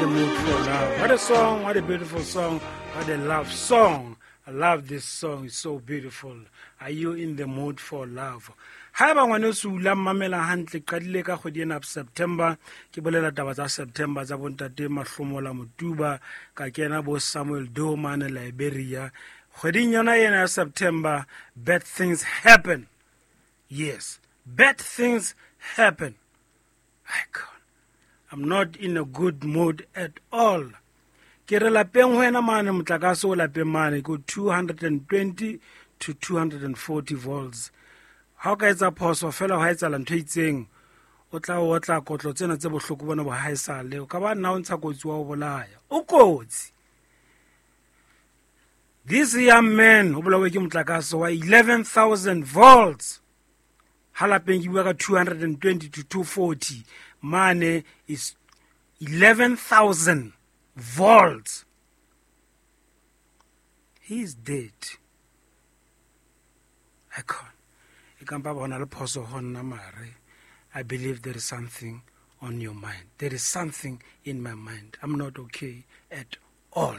In the Mood for Love. What a song, what a beautiful song, what a love song. I love this song, it's so beautiful. Are you in the mood for love? Haeba ngwaneso o la mmamela hantle, qadile ka kgwedi ena September, ke bolela taba tsa September tsa bontate Mahlomola Motuba, ka kena bo Samuel Doe mane Liberia. Kgweding yona ena ya September, bad things happen. Yes, bad things happen. I can't. I'm not in a good mood at all. Ke re lapeng ho wena mane, motlakase o lapeng mane ko 220 to 240 volts. Ha o ka etsa phoso fela, ha etsahala ntho e itseng, o tla o otla kotlo tsena tse bohloko bona bo haesale. O ka ba nna o ntsha kotsi wa o bolaya, o kotsi. This young man o bolawe ke motlakase wa 11,000 volts. Ha lapeng ke bua ka 220 to 240, mane is 11,000 volts. He is dead. I can't. E kampa bona le phoso ho nna, mare I believe there is something on your mind. There is something in my mind. I'm not okay at all.